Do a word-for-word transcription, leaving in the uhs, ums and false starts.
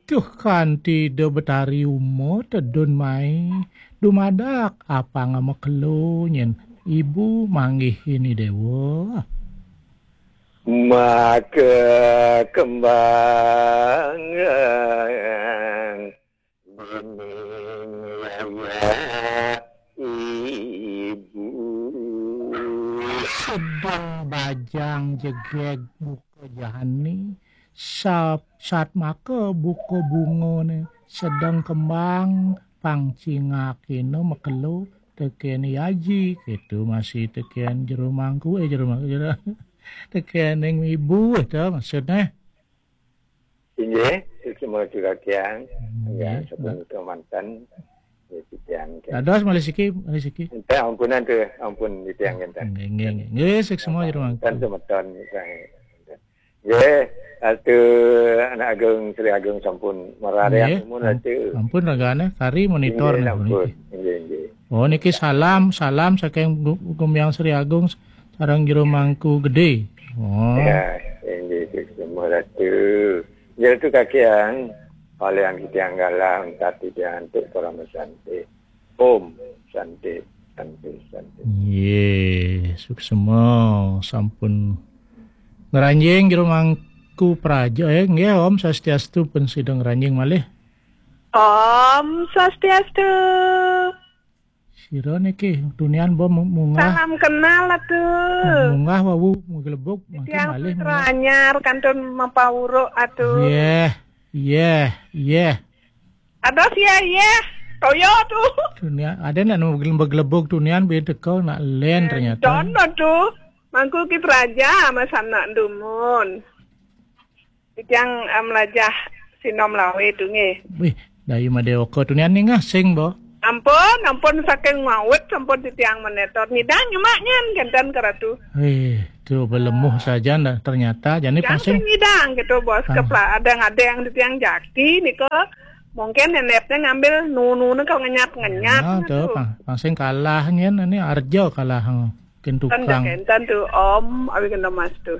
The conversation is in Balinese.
Tuh kanti do betari uma tedun mai. Dumadak apanga makelo nyen ibu manggih ini dewa. Maka kembangan bening lewat ibu. Sedang bajang jegeg buka jahani, sat maka buka bungane sedang kembang pang cingakina makelo teken yaji, ketu masih teken jero mangku, eh, jero mangku, jero, teken ning ibu, eh, to maksudne. Inggih, semua juga kiang. Inggih. Ya, sebelum kemanten, ya, titiang kiang. Dados malih siki, malih siki. Enten ampunan tu, ampun titiang enten. Nggih, nggih, nggih. Nggih, sik semua jero mangku. Dan semeton, misalnya. Nggih, Ratu Anak Agung Sri Agung sampun mararian. Nggih, nuwun, Ratu. Ampun ragane, kari monitor. Inggih, nih, ampun. Niki. Inggih, inggih. Oh, niki salam, salam saking Gu-, Gumiang Sri Agung sareng Jero Mangku Gede. Oh. Ya, inggih, sik semua Ratu. Ya, Ratu Kakiang, kalian kita yang galang, tapi dia antuk parama santi. Om Santi, Santi, Santi. Nggih, suksema sampun ngranjing Jero Mangku Praja, eh, nggih, Om Swastiastu pun sida ngranjing malih. Om Swastiastu. Sira niki tunian bo mu-, munggah. Salam kenal, Ratu. Munggah wau maglebug, mangkin tiang malih putra munggah. Anyar kantun mapawuruk, Ratu. Yeh, yeh, yeh. Ada sia, yeh. Toyo tu. Tunian, ada nak maglebug tunian, be teka nak len ternyata. Dono tu. Mangku ki praja, mas anak dumun. Titiang, eh, melajah sinom lawe tu nggih. Wih, dayu madewaka tunian ningah sing bo. Ampun, ampun saking mawit sampun titiang menetor. Nyidang nyemak nyen kenten ke Ratu. Wih, tu belemuh saja ndak ternyata. Jani pang sing nyidang gitu, Bos. Pang. Kepla adang-adang titiang jaki nika. Mungkin nenepnya ngambil nunu kau ngenyat-ngenyat. Nah, tu, pang, pang sing kalah nyen ini arjo kalah. Ken tukang. Kenten tu, Om, awi kena mas tu.